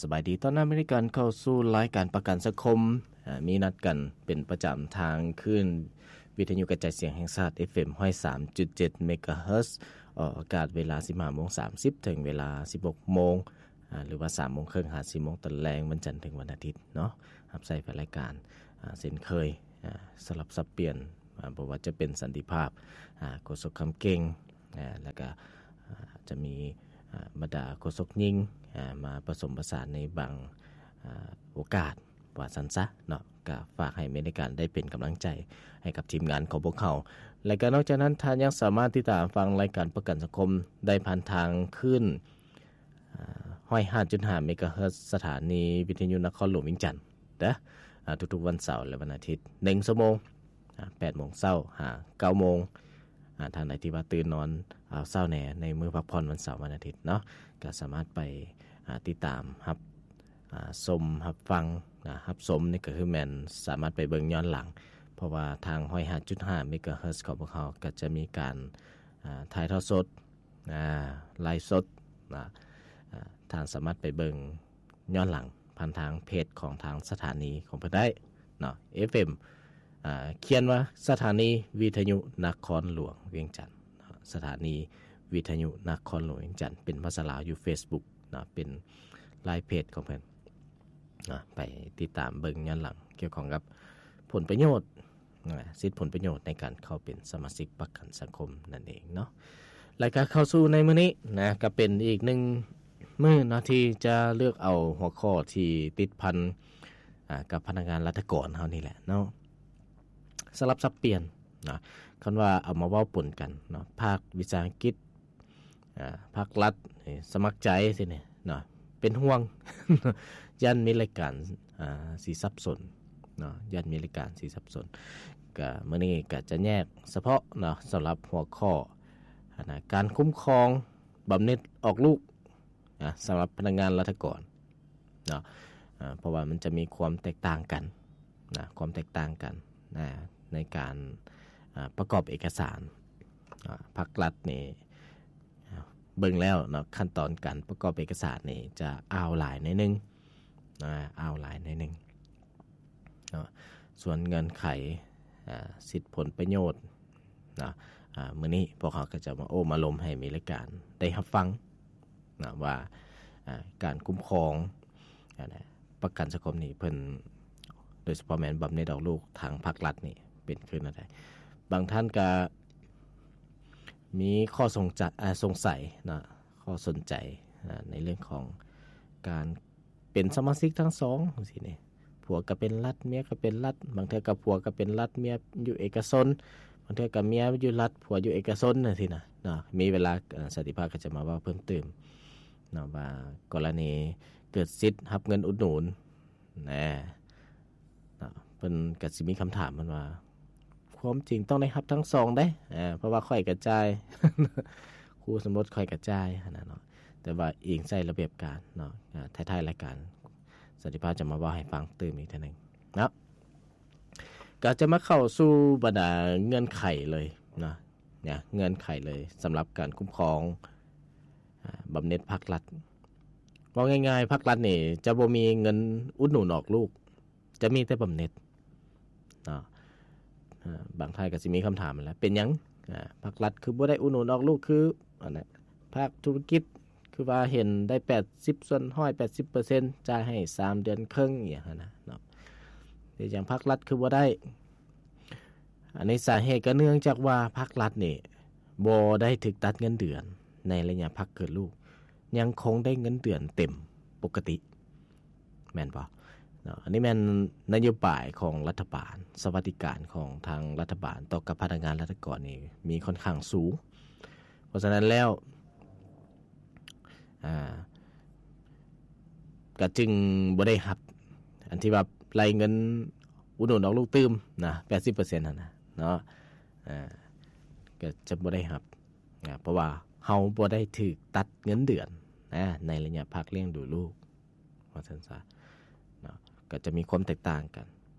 ສະບາຍດີ ຕ້ອນຮັບໃຫ້ກັນເຂົ້າສູ່ລາຍການປະກັນສັງຄົມ ອາ ມີນັດກັນເປັນປະຈຳທາງຄື້ນວິທະຍຸກະຈາຍສຽງແຫ່ງຊາດ ເອັຟເອັມ ຮ້ອຍສາມຈຸດເຈັດ ເມກາເຮີດ ອອກອາກາດເວລາສິບຫ້າໂມງສາມສິບ ເຖິງເວລາສິບຫົກໂມງ ອາ ຫຼືວ່າສາມໂມງເຄິ່ງຫາສີ່ໂມງຕອນແລງ ວັນຈັນເຖິງວັນອາທິດເນາະ. ຮັບໃຊ້ແຟນລາຍການ ອາ ເຊັ່ນເຄີຍ ອາ ສະຫຼັບສັບປ່ຽນ ອາ ບໍ່ວ່າຈະເປັນສັນຕິພາບ ອາ ໂຄສົກຄຳເກັ່ງ ອາ ແລ້ວກະ ອາ ຈະມີ ອາ ບັນດາໂຄສົກຍິງ ອາ ມາປະສົມປະສານໃນບາງ ອາ ໂອກາດ ວ່າຊັ້ນຊະເນາະ. ກະຝາກໃຫ້ແຟນລາຍການໄດ້ເປັນກຳລັງໃຈໃຫ້ກັບທີມງານຂອງພວກເຮົາ ແລະກະນອກຈາກນັ້ນ ທ່ານຍັງສາມາດຕິດຕາມຟັງລາຍການປະກັນສັງຄົມໄດ້ຜ່ານທາງຄື້ນ ອາ ຮ້ອຍຫ້າຈຸດຫ້າ ເມກາເຮີດ ສະຖານີວິທະຍຸນະຄອນຫຼວງວຽງຈັນເດີ ອາ ທຸກໆວັນເສົາ ແລະ ວັນອາທິດ ໜຶ່ງຊົ່ວໂມງ ອາ ແປດໂມງເຊົ້າຫາເກົ້າໂມງ. ອາ ທ່ານໃດທີ່ວ່າຕື່ນນອນເອົາເຊົ້າແດ່ ໃນມື້ພັກຜ່ອນວັນເສົາ ວັນອາທິດເນາະ ກະສາມາດໄປ ອາ ຕິດຕາມຮັບ ອາ ຊົມ ຮັບຟັງ ອາ ຮັບຊົມນີ້ກະຄືແມ່ນສາມາດໄປເບິ່ງຍ້ອນຫຼັງ ເພາະວ່າທາງຮ້ອຍຫ້າຈຸດຫ້າ ເມກາເຮີດ ຂອງພວກເຮົາກະຈະມີການ ອາ ຖ່າຍທອດສົດ ອາ ໄລຟ໌ສົດ ອາ ທ່ານສາມາດໄປເບິ່ງຍ້ອນຫຼັງຜ່ານທາງເພຈຂອງທາງສະຖານີຂອງເພິ່ນໄດ້ເນາະ ເອັຟເອັມ ອາ ຂຽນວ່າສະຖານີວິທະຍຸນະຄອນຫຼວງວຽງຈັນເນາະ ສະຖານີວິທະຍຸນະຄອນຫຼວງວຽງຈັນ ເປັນພາສາລາວຢູ່ເຟສບຸກເນາະ ເປັນລາຍເພຈຂອງເພິ່ນເນາະ ໄປຕິດຕາມເບິ່ງຍ້ອນຫຼັງກ່ຽວຂ້ອງກັບຜົນປະໂຫຍດ ນະ ສິດຜົນປະໂຫຍດໃນການເຂົ້າເປັນສະມາຊິກປະກັນສັງຄົມນັ້ນເອງເນາະ. ແລະກະເຂົ້າສູ່ໃນມື້ນີ້ນະ ກະເປັນອີກໜຶ່ງມື້ເນາະ ທີ່ຈະເລືອກເອົາຫົວຂໍ້ທີ່ຕິດພັນ ອາ ກັບພະນັກງານລັດຖະກອນເຮົານີ້ແຫຼະເນາະ ສະຫຼັບສັບປ່ຽນນະ. ຄັນວ່າເອົາມາເວົ້າປົນກັນເນາະ ພາກວິຊາອັງກິດ ອາ ພາກລັດ ເອີ ສະໝັກໃຈຊີ້ນີ້ເນາະ ເປັນຫ່ວງ ຢ້ານມີລາຍການ ອາ ຊິສັບສົນເນາະ ຢ້ານມີລາຍການຊິສັບສົນ. ກະມື້ນີ້ກະຈະແຍກສະເພາະເນາະ ສຳລັບຫົວຂໍ້ ອັນນະ ການຄຸ້ມຄອງບຳເໜັດອອກລູກ ນະ ສຳລັບພະນັກງານລັດຖະກອນເນາະ ອາ ເພາະວ່າມັນຈະມີຄວາມແຕກຕ່າງກັນນະ ຄວາມແຕກຕ່າງກັນນະ ໃນການ ອາ ປະກອບເອກະສານ. ອາ ພາກລັດນີ້ ອາ ເບິ່ງແລ້ວເນາະ ຂັ້ນຕອນການປະກອບເອກະສານນີ້ຈະອ່າວຫຼາຍໜ້ອຍໜຶ່ງ ອາ ອ່າວຫຼາຍໜ້ອຍໜຶ່ງເນາະ. ສ່ວນເງື່ອນໄຂ ອາ ສິດຜົນປະໂຫຍດເນາະ ອາ ມື້ນີ້ພວກເຮົາກະຈະມາໂອ້ມາລົມໃຫ້ແຟນລາຍການໄດ້ຮັບຟັງເນາະ ວ່າ ອາ ການຄຸ້ມຄອງ ອາ ປະກັນສັງຄົມນີ້ເພິ່ນ ໂດຍສະເພາະແມ່ນບຳເໜັດອອກລູກທາງພາກລັດນີ້ເປັນຄືແນວໃດ. ບາງທ່ານກະມີຂໍ້ສົງຈະ ອາ ສົງໄສເນາະ ຂໍ້ສົນໃຈ ອາ ໃນເລື່ອງຂອງການ ເປັນສະມາຊິກທັງສອງຈັ່ງຊີ້ນີ້ ຜົວກະເປັນລັດ ເມຍກະເປັນລັດ ບາງເທື່ອກະຜົວກະເປັນລັດ ເມຍຢູ່ເອກະຊົນ ບາງເທື່ອກະເມຍຢູ່ລັດ ຜົວຢູ່ເອກະຊົນຈັ່ງຊີ້ນະເນາະ. ມີເວລາ ເອີ ສັນຕິພາບກະຈະມາເວົ້າເພີ່ມຕື່ມເນາະ ວ່າກໍລະນີເກີດສິດຮັບເງິນອຸດໜູນນະ ເນາະ ເພິ່ນກະຊິມີຄຳຖາມເພິ່ນວ່າ ຄວາມຈິງຕ້ອງໄດ້ຮັບທັງສອງເດ້ ເພາະວ່າຂ້ອຍກະຈ່າຍ ຄູ່ສົມລົດຂ້ອຍກະຈ່າຍຫັ້ນນະເນາະ ແຕ່ວ່າອີງໃສ່ລະບຽບການເນາະ. ທ້າຍໆລາຍການ ສັນຕິພາບຈະມາເວົ້າໃຫ້ຟັງຕື່ມອີກເທື່ອໜຶ່ງເນາະ. ກະຈະມາເຂົ້າສູ່ບັນດາເງື່ອນໄຂເລີຍເນາະ ເງື່ອນໄຂເລີຍສຳລັບການຄຸ້ມຄອງ ອາ ບຳເໜັດພາກລັດ. ເວົ້າງ່າຍໆ ພາກລັດນີ້ຈະບໍ່ມີເງິນອຸດໜູນອອກລູກ ຈະມີແຕ່ບຳເໜັດເນາະ. ອາ ບາງທ່ານກະຊິມີຄຳຖາມຫັ້ນແຫຼະ ເປັນຫຍັງ ອາ ພາກລັດຄືບໍ່ໄດ້ອຸດໜູນອອກລູກ ຄືອັນນັ້ນ ພາກທຸລະກິດຄືວ່າເຫັນໄດ້ແປດສິບສ່ວນຮ້ອຍ ແປດສິບເປີເຊັນ ຈ່າຍໃຫ້ສາມເດືອນເຄິ່ງ ອີ່ຫຍັງຫັ້ນນະເນາະ. ເປັນຫຍັງພາກລັດຄືບໍ່ໄດ້? ອັນນີ້ສາເຫດກະເນື່ອງຈາກວ່າພາກລັດນີ້ບໍ່ໄດ້ຖືກຕັດເງິນເດືອນໃນໄລຍະພັກເກີດລູກ ຍັງຄົງໄດ້ເງິນເດືອນເຕັມປົກກະຕິ ແມ່ນບໍ່ເນາະ? ອັນນີ້ແມ່ນນະໂຍບາຍຂອງລັດຖະບານ ສະຫວັດດີການຂອງທາງລັດຖະບານຕໍ່ກັບພະນັກງານລັດຖະກອນນີ້ມີຂ້ອນຂ້າງສູງ. ເພາະສະນັ້ນແລ້ວ ອາ ກະຈຶ່ງບໍ່ໄດ້ຮັບ ອັນທີ່ວ່າໄລ່ເງິນອຸດໜູນອອກລູກຕື່ມນະ ແປດສິບເປີເຊັນຫັ້ນນະເນາະ ອາ ກະຈະບໍ່ໄດ້ຮັບ ອາ ເພາະວ່າເຮົາບໍ່ໄດ້ຖືກຕັດເງິນເດືອນນະ ໃນໄລຍະພັກລ້ຽງດູລູກ ວ່າຊັ້ນຊະເນາະ. ກະຈະມີຄວາມແຕກຕ່າງກັນ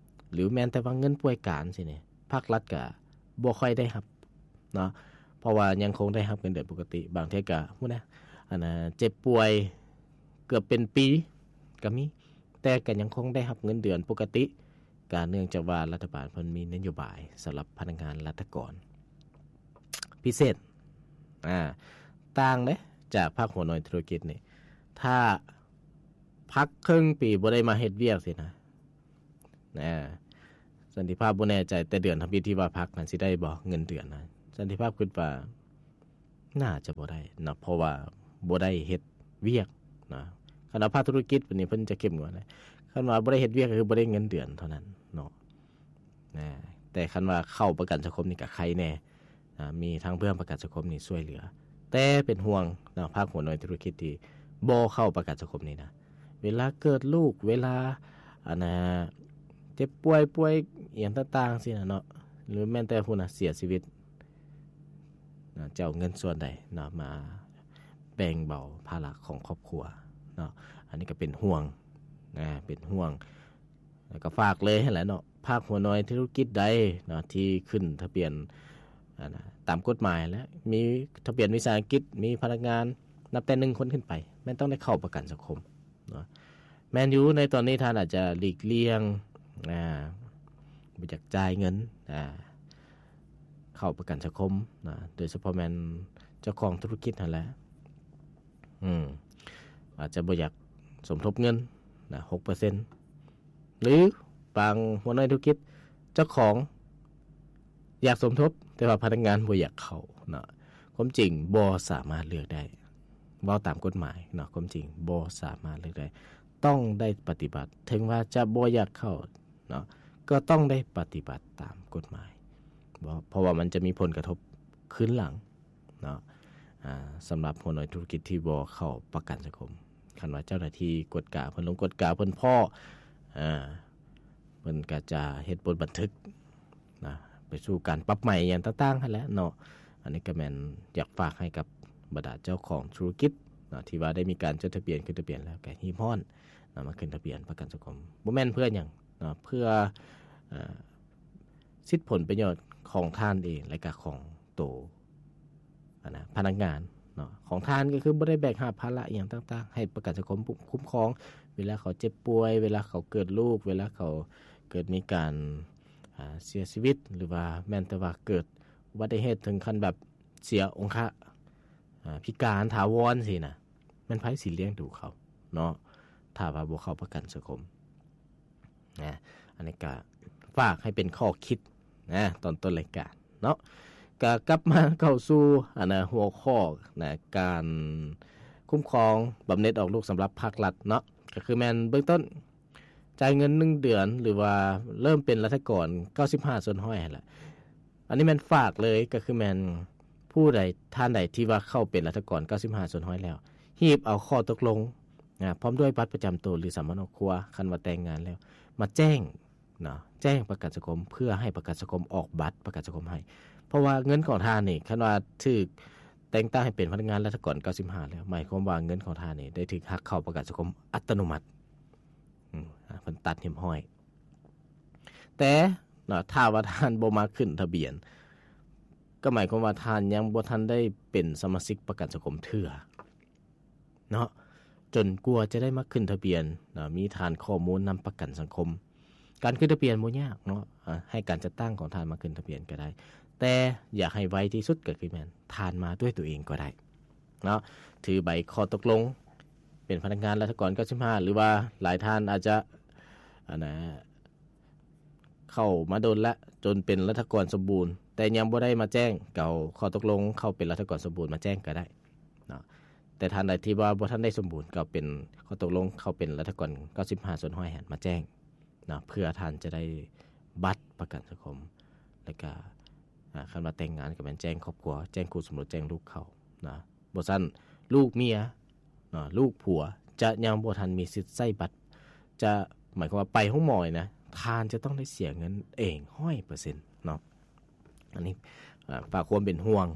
ຫຼືແມ່ນແຕ່ວ່າເງິນປ່ວຍການຊີ້ນີ້ ພາກລັດກະບໍ່ຄ່ອຍໄດ້ຮັບ ເນາະ ເພາະວ່າຍັງຄົງໄດ້ຮັບເງິນເດືອນປົກກະຕິ. ບາງເທື່ອກະ ພຸ້ນນະ ອັນນະ ເຈັບປ່ວຍເກືອບເປັນປີ ກໍມີ ແຕ່ກໍຍັງຄົງໄດ້ຮັບເງິນເດືອນປົກກະຕິ ກໍເນື່ອງຈາກວ່າລັດຖະບານເພິ່ນມີນະໂຍບາຍສຳລັບພະນັກງານລັດຖະກອນພິເສດ ອ່າ ຕ່າງເດ້ຈາກພາກຫົວໜ່ວຍທຸລະກິດນີ້ ຖ້າພັກເຄິ່ງປີບໍ່ໄດ້ມາເຮັດວຽກຊີ້ນະ ນະ ສັນຕິພາບບໍ່ແນ່ໃຈ ແຕ່ເດືອນທຳອິດທີ່ວ່າພັກນັ້ນຊິໄດ້ບໍ່ເງິນເດືອນນະ ສັນຕິພາບຄິດວ່າໜ້າຈະບໍ່ໄດ້ເນາະ ເພາະວ່າບໍ່ໄດ້ເຮັດວຽກນະ ຄັນວ່າພາກທຸລະກິດນີ້ເພິ່ນຈະເຂັ້ມງວດ ຄັນວ່າບໍ່ໄດ້ເຮັດວຽກກໍຄືບໍ່ໄດ້ເງິນເດືອນເທົ່ານັ້ນເນາະ ນະ ແຕ່ຄັນວ່າເຂົ້າປະກັນສັງຄົມນີ້ກໍໄຄແນ່ ອ່າ ມີທາງເບື້ອງປະກັນສັງຄົມນີ້ຊ່ວຍເຫຼືອ ແຕ່ເປັນຫ່ວງເນາະ ພາກຫົວໜ່ວຍທຸລະກິດທີ່ບໍ່ເຂົ້າປະກັນສັງຄົມນີ້ນະ ເວລາເກີດລູກ ເວລາ ອັນນ່າ ເຈັບປ່ວຍ ປ່ວຍອີ່ຫຍັງຕ່າງໆຊີ້ນະເນາະ ຫຼືແມ່ນແຕ່ພຸ້ນນະ ເສຍຊີວິດນະ ຈະເອົາເງິນສ່ວນໃດເນາະ ມາແບ່ງເບົາພາລະຂອງຄອບຄົວເນາະ ອັນນີ້ກໍເປັນຫ່ວງນະ ເປັນຫ່ວງ ແລ້ວກໍຝາກເລີຍຫັ້ນແຫຼະເນາະ ພາກຫົວໜ່ວຍທຸລະກິດໃດເນາະ ທີ່ຂຶ້ນທະບຽນ ອັນນ່າ ຕາມກົດໝາຍ ແລະ ມີທະບຽນວິສາຫະກິດ ມີພະນັກງານນັບແຕ່ໜຶ່ງຄົນຂຶ້ນໄປ ແມ່ນຕ້ອງໄດ້ເຂົ້າປະກັນສັງຄົມເນາະ ແມ່ນຢູ່ ໃນຕອນນີ້ທ່ານອາດຈະຫຼີກລ່ຽງ ອ່າ ບໍ່ຢາກຈ່າຍເງິນ ອ່າ ເຂົ້າປະກັນສັງຄົມນະ ໂດຍສະເພາະແມ່ນເຈົ້າຂອງທຸລະກິດຫັ້ນແຫຼະ ອືມ ອາດຈະບໍ່ຢາກສົມທົບເງິນນະ ຫົກເປີເຊັນ ຫຼືບາງຫົວໜ່ວຍທຸລະກິດ ເຈົ້າຂອງຢາກສົມທົບ ແຕ່ວ່າພະນັກງານບໍ່ຢາກເຂົ້າເນາະ ຄວາມຈິງບໍ່ສາມາດເລືອກໄດ້ ເວົ້າຕາມກົດໝາຍເນາະ ຄວາມຈິງບໍ່ສາມາດເລືອກໄດ້ ຕ້ອງໄດ້ປະຕິບັດ ເຖິງວ່າຈະບໍ່ຢາກເຂົ້າເນາະ ກໍຕ້ອງໄດ້ປະຕິບັດຕາມກົດໝາຍ ເພາະວ່າມັນຈະມີຜົນກະທົບຄືນຫຼັງ ເນາະ ອ່າ ສຳລັບຫົວໜ່ວຍທຸລະກິດທີ່ບໍ່ເຂົ້າປະກັນສັງຄົມ ຄັນວ່າເຈົ້າໜ້າທີ່ກວດກາ ເພິ່ນລົງກວດກາ ເພິ່ນພໍ້ ອ່າ ເພິ່ນກໍຈະເຮັດບົດບັນທຶກນະ ໄປສູ່ການປັບໃໝຫຍັງຕ່າງໆຫັ້ນແຫຼະເນາະ ອັນນີ້ກໍແມ່ນຢາກຝາກໃຫ້ກັບບັນດາເຈົ້າຂອງທຸລະກິດເນາະ ທີ່ວ່າໄດ້ມີການຈົດທະບຽນ ຂຶ້ນທະບຽນແລ້ວ ກໍຮີບຮ້ອນນະ ມາຂຶ້ນທະບຽນປະກັນສັງຄົມ ບໍ່ແມ່ນເພື່ອຫຍັງເນາະ ເພື່ອ ເອີ ສິດຜົນປະໂຫຍດຂອງທ່ານເອງ ແລະກະຂອງໂຕ ອັນນະ ພະນັກງານເນາະ ຂອງທ່ານກໍຄືບໍ່ໄດ້ແບກຫາບພາລະອີ່ຫຍັງຕ່າງໆ ໃຫ້ປະກັນສັງຄົມຄຸ້ມຄອງ ເວລາເຂົາເຈັບປ່ວຍ ເວລາເຂົາເກີດລູກ ເວລາເຂົາເກີດມີການ ອ່າ ເສຍຊີວິດ ຫຼືວ່າແມ່ນແຕ່ວ່າເກີດອຸບັດຕິເຫດເຖິງຂັ້ນແບບເສຍອົງຄະ ອ່າ ພິການຖາວອນຊີ້ນະ ແມ່ນໃຜຊິລ້ຽງດູເຂົາເນາະ ຖ້າວ່າບໍ່ເຂົ້າປະກັນສັງຄົມ? ນະ ອັນນີ້ກະຝາກໃຫ້ເປັນຂໍ້ຄິດນະ ຕອນຕົ້ນລາຍການເນາະ ກະກັບມາເຂົ້າສູ່ ອັນນະ ຫົວຂໍ້ນະ ການຄຸ້ມຄອງບຳເໜັດອອກລູກສຳລັບພາກລັດເນາະ ກະຄືແມ່ນເບື້ອງຕົ້ນ ຈ່າຍເງິນໜຶ່ງເດືອນ ຫຼືວ່າເລີ່ມເປັນລັດຖະກອນເກົ້າສິບຫ້າສ່ວນຮ້ອຍຫັ້ນແຫຼະ ອັນນີ້ແມ່ນຝາກເລີຍ ກໍຄືແມ່ນຜູ້ໃດ ທ່ານໃດທີ່ວ່າເຂົ້າເປັນລັດຖະກອນເກົ້າສິບຫ້າສ່ວນຮ້ອຍແລ້ວ ຮີບເອົາຂໍ້ຕົກລົງນະ ພ້ອມດ້ວຍບັດປະຈຳໂຕ ຫຼື ສຳເນົຄອບຄົວ ຄັນວ່າແຕ່ງງານແລ້ວ ມາແຈ້ງເນາະ ແຈ້ງປະກັນສັງຄົມ ເພື່ອໃຫ້ປະກັນສັງຄົມອອກບັດປະກັນສັງຄົມໃຫ້ ເພາະວ່າເງິນຂອງທ່ານນີ້ ຄັນວ່າຖືກແຕ່ງຕັ້ງໃຫ້ເປັນພະນັກງານລັດຖະກອນເກົ້າສິບຫ້າແລ້ວ ໝາຍຄວາມວ່າເງິນຂອງທ່ານນີ້ໄດ້ຖືກຫັກເຂົ້າປະກັນສັງຄົມອັດຕະໂນມັດ ອືມ ອາ ເພິ່ນຕັດຮຽບຮ້ອຍ ແຕ່ເນາະ ຖ້າວ່າທ່ານບໍ່ມາຂຶ້ນທະບຽນ ກໍໝາຍຄວາມວ່າທ່ານຍັງບໍ່ທັນໄດ້ເປັນສະມາຊິກປະກັນສັງຄົມເທື່ອເນາະ ຈົນກວ່າຈະໄດ້ມາຂຶ້ນທະບຽນເນາະ ມີຖານຂໍ້ມູນນຳປະກັນສັງຄົມ ການຂຶ້ນທະບຽນບໍ່ຍາກເນາະ ອາ ໃຫ້ການຈັດຕັ້ງຂອງທ່ານມາຂຶ້ນທະບຽນກໍໄດ້ ແຕ່ຢາກໃຫ້ໄວທີ່ສຸດກໍຄືແມ່ນທ່ານມາດ້ວຍຕົວເອງກໍໄດ້ ເນາະ ຖືໃບຂໍ້ຕົກລົງເປັນພະນັກງານລັດຖະກອນເກົ້າສິບຫ້າ ຫຼືວ່າຫຼາຍທ່ານອາດຈະ ອັນນະ ເຂົ້າມາດົນລະ ຈົນເປັນລັດຖະກອນສົມບູນ ແຕ່ຍັງບໍ່ໄດ້ມາແຈ້ງ ກໍເອົາຂໍ້ຕົກລົງເຂົ້າເປັນລັດຖະກອນສົມບູນມາແຈ້ງກໍໄດ້ເນາະ ແຕ່ທ່ານໃດທີ່ວ່າບໍ່ທັນໄດ້ສົມບູນ ກໍເອົາເປັນຂໍ້ຕົກລົງເຂົ້າເປັນລັດຖະກອນເກົ້າສິບຫ້າສ່ວນຮ້ອຍຫັ້ນມາແຈ້ງ ເນາະ ເພື່ອທ່ານຈະໄດ້ບັດປະກັນສັງຄົມ ແລ້ວກະ ອາ ຄັນວ່າແຕ່ງງານກໍແມ່ນແຈ້ງຄອບຄົວ ແຈ້ງຄູ່ສົມລົດ ແຈ້ງລູກເຂົານະ ບໍ່ຊັ້ນລູກເມຍເນາະ ລູກຜົວຈະຍັງບໍ່ທັນມີສິດໃຊ້ບັດ ຈະໝາຍຄວາມວ່າໄປໂຮງໝໍນີ້ນະ ທ່ານຈະຕ້ອງໄດ້ເສຍເງິນເອງຮ້ອຍເປີເຊັນເນາະ ອັນນີ້ ອາ ຝາກຄວາມເປັນຫ່ວງ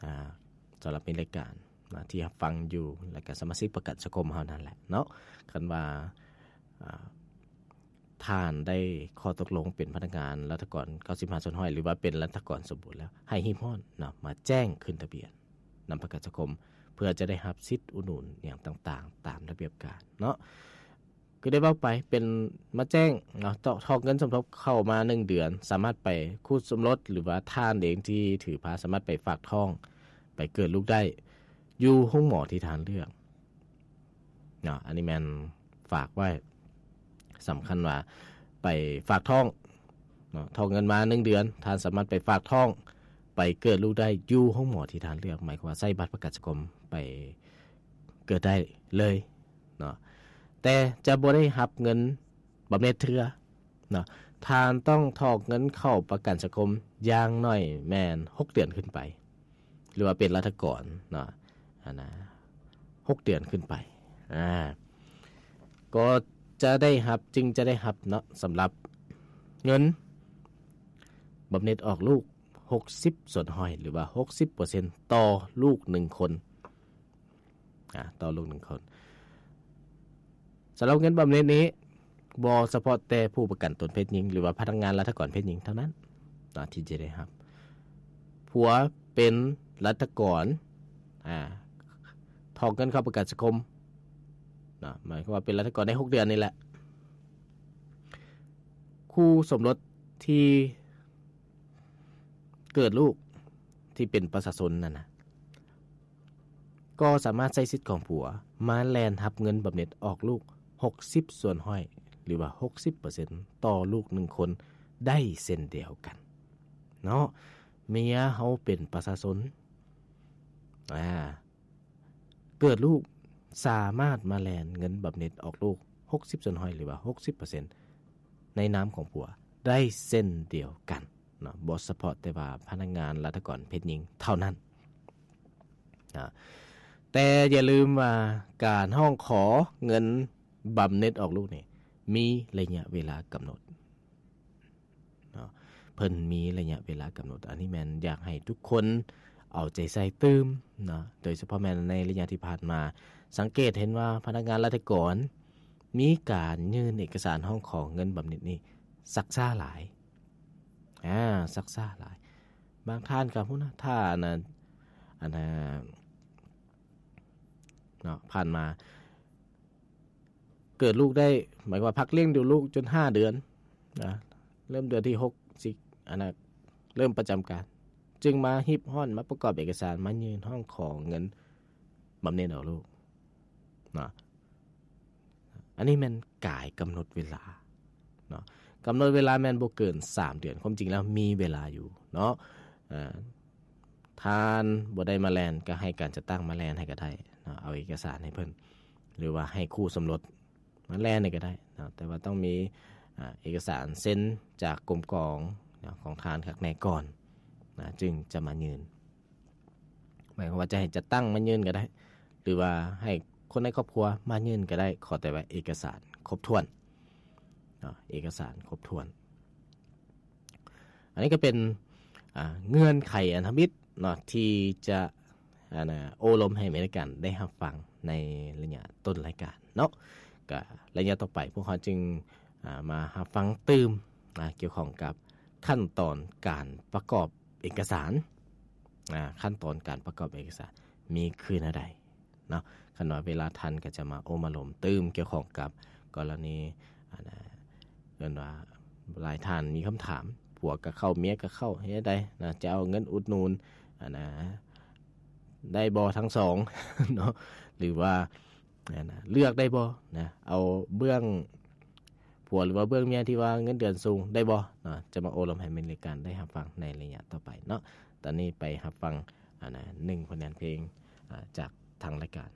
ອາ ສຳລັບໃນລາຍການ ນະ ທີ່ຮັບຟັງຢູ່ ແລະກະສະມາຊິກປະກັນສັງຄົມເຮົານັ້ນແຫຼະເນາະ ຄັນວ່າ ອາ ທ່ານໄດ້ຂໍ້ຕົກລົງເປັນພະນັກງານລັດຖະກອນເກົ້າສິບຫ້າສ່ວນຮ້ອຍ ຫຼືວ່າເປັນລັດຖະກອນສົມບູນແລ້ວ ໃຫ້ຮີບຮ້ອນເນາະ ມາແຈ້ງຂຶ້ນທະບຽນນຳປະກັນສັງຄົມ ເພື່ອຈະໄດ້ຮັບສິດອຸດໜູນຫຍັງຕ່າງໆ ຕາມລະບຽບການເນາະ ຄືໄດ້ເວົ້າໄປ ເປັນມາແຈ້ງເນາະ ຖອກເງິນສົມທົບເຂົ້າມາໜຶ່ງເດືອນ ສາມາດໄປຄູ່ສົມລົດ ຫຼືວ່າທ່ານເອງທີ່ຖືພາ ສາມາດໄປຝາກທ້ອງ ໄປເກີດລູກໄດ້ຢູ່ໂຮງໝໍທີ່ທ່ານເລືອກເນາະ. ອັນນີ້ແມ່ນຝາກໄວ້ ສຳຄັນວ່າໄປຝາກທ້ອງເນາະ ຖອກເງິນມາໜຶ່ງເດືອນ ທ່ານສາມາດໄປຝາກທ້ອງ ໄປເກີດລູກໄດ້ຢູ່ໂຮງໝໍທີ່ທ່ານເລືອກ ໝາຍຄວາມວ່າໃຊ້ບັດປະກັນສັງຄົມໄປເກີດໄດ້ເລີຍເນາະ ແຕ່ຈະບໍ່ໄດ້ຮັບເງິນບຳເໜັດເທື່ອເນາະ. ທ່ານຕ້ອງຖອກເງິນເຂົ້າປະກັນສັງຄົມຢ່າງໜ້ອຍແມ່ນຫົກເດືອນຂຶ້ນໄປ ຫຼືວ່າເປັນລັດຖະກອນເນາະ ອັນນະ ຫົກເດືອນຂຶ້ນໄປ ອາ ກໍຈະໄດ້ຮັບ ຈຶ່ງຈະໄດ້ຮັບເນາະ ສຳລັບເງິນບຳເໜັດອອກລູກຫົກສິບສ່ວນຮ້ອຍ ຫຼືວ່າຫົກສິບເປີເຊັນຕໍ່ລູກໜຶ່ງຄົນ ອາ ຕໍ່ລູກໜຶ່ງຄົນ. ສຳລັບເງິນບຳເໜັດນີ້ ບໍ່ສະເພາະແຕ່ຜູ້ປະກັນຕົນເພດຍິງ ຫຼືວ່າພະນັກງານລັດຖະກອນເພດຍິງເທົ່ານັ້ນເນາະ ທີ່ຈະໄດ້ຮັບ. ຜົວເປັນລັດຖະກອນ ອາ ຖອກເງິນເຂົ້າປະກັນສັງຄົມເນາະ ໝາຍຄວາມວ່າເປັນລັດຖະກອນໄດ້ຫົກເດືອນນີ້ແຫຼະ. ຄູ່ສົມລົດທີ່ເກີດລູກ ທີ່ເປັນປະຊາຊົນນັ້ນນະ ກໍສາມາດໃຊ້ສິດຂອງຜົວມາແລ່ນຮັບເງິນບຳເໜັດອອກລູກຫົກສິບສ່ວນຮ້ອຍ ຫຼືວ່າຫົກສິບເປີເຊັນຕໍ່ລູກໜຶ່ງຄົນໄດ້ເຊັ່ນດຽວກັນເນາະ. ເມຍເຮົາເປັນປະຊາຊົນ ອາ ເກີດລູກ ສາມາດມາແລ່ນເງິນບຳເໜັດອອກລູກຫົກສິບສ່ວນຮ້ອຍ ຫຼືວ່າຫົກສິບເປີເຊັນໃນນາມຂອງຜົວໄດ້ເຊັ່ນດຽວກັນເນາະ ບໍ່ສະເພາະແຕ່ວ່າພະນັກງານລັດຖະກອນເພດຍິງເທົ່ານັ້ນ. ອາ ແຕ່ຢ່າລືມວ່າການຮ້ອງຂໍເງິນບຳເໜັດອອກລູກນີ້ ມີໄລຍະເວລາກຳນົດເນາະ ເພິ່ນມີໄລຍະເວລາກຳນົດ. ອັນນີ້ແມ່ນຢາກໃຫ້ທຸກຄົນເອົາໃຈໃສ່ຕື່ມເນາະ ໂດຍສະເພາະແມ່ນໃນໄລຍະທີ່ຜ່ານມາ ສັງເກດເຫັນວ່າພະນັກງານລັດຖະກອນມີການຍື່ນເອກະສານຮ້ອງຂໍເງິນບຳເໜັດນີ້ຊັກຊ້າຫຼາຍ ອາ ຊັກຊ້າຫຼາຍ. ບາງທ່ານກໍພຸ້ນນະ ຖ້າອັນນັ້ນ ອັນນັ້ນເນາະ ຜ່ານມາເກີດລູກໄດ້ ໝາຍຄວາມວ່າພັກລ້ຽງດູລູກຈົນຫ້າເດືອນນະ ເລີ່ມເດືອນທີຫົກ ຊິ ອັນນັ້ນ ເລີ່ມປະຈຳການ ຈຶ່ງມາຮີບຮ້ອນ ມາປະກອບເອກະສານ ມາຍື່ນຮ້ອງຂໍເງິນບຳເໜັດອອກລູກເນາະ. ອັນນີ້ແມ່ນກາຍກຳນົດເວລາເນາະ ກຳນົດເວລາແມ່ນບໍ່ເກີນສາມເດືອນ ຄວາມຈິງແລ້ວມີເວລາຢູ່ເນາະ. ເອີ ທ່ານບໍ່ໄດ້ມາແລ່ນ ກໍໃຫ້ການຈັດຕັ້ງມາແລ່ນໃຫ້ກໍໄດ້ເນາະ ເອົາເອກະສານໃຫ້ເພິ່ນ ຫຼືວ່າໃຫ້ຄູ່ສົມລົດມາແລ່ນໃຫ້ກໍໄດ້ເນາະ ແຕ່ວ່າຕ້ອງມີ ອາ ເອກະສານເຊັນຈາກກົມກອງເນາະ ຂອງທ່ານຄັກແນ່ກ່ອນນະ ຈຶ່ງຈະມາຍື່ນ. ໝາຍຄວາມວ່າຈະໃຫ້ຈັດຕັ້ງມາຍື່ນກໍໄດ້ ຫຼືວ່າໃຫ້ຄົນໃນຄອບຄົວມາຍື່ນກໍໄດ້ ຂໍແຕ່ວ່າເອກະສານຄົບຖ້ວນເນາະ ເອກະສານຄົບຖ້ວນ. ອັນນີ້ກໍເປັນ ອາ ເງື່ອນໄຂອັນທຳອິດເນາະ ທີ່ຈະ ອັນນະ ໂອ້ລົມໃຫ້ແມ່ນການໄດ້ຮັບຟັງໃນໄລຍະຕົ້ນລາຍການເນາະ. ກໍໄລຍະຕໍ່ໄປພວກເຮົາຈຶ່ງ ອາ ມາຮັບຟັງຕື່ມ ອາ ກ່ຽວຂ້ອງກັບຂັ້ນຕອນການປະກອບເອກະສານ ອາ ຂັ້ນຕອນການປະກອບເອກະສານມີຄືແນວໃດເນາະ. ຄັນວ່າເວລາທັນກໍຈະມາໂອ້ມາລົມຕື່ມກ່ຽວຂ້ອງກັບກໍລະນີ ອັນນະ ເອີ້ນວ່າຫຼາຍທ່ານມີຄຳຖາມ ຜົວກໍເຂົ້າ ເມຍກໍເຂົ້າ ເຮັດໃດນະ ຈະເອົາເງິນອຸດໜູນ ອັນນະ ໄດ້ບໍ່ທັງສອງເນາະ ຫຼືວ່າ ອັນນະ ເລືອກໄດ້ບໍ່ນະ ເອົາເບື້ອງຜົວ ຫຼືວ່າເບື້ອງເມຍທີ່ວ່າເງິນເດືອນສູງໄດ້ບໍ່ເນາະ. ຈະມາໂອ້ລົມໃຫ້ແມ່ນການໄດ້ຮັບຟັງໃນໄລຍະຕໍ່ໄປເນາະ. ຕອນນີ້ໄປຮັບຟັງ ອັນນະ ໜຶ່ງຜົນງານເພງ ອາ ຈາກທາງລາຍການ.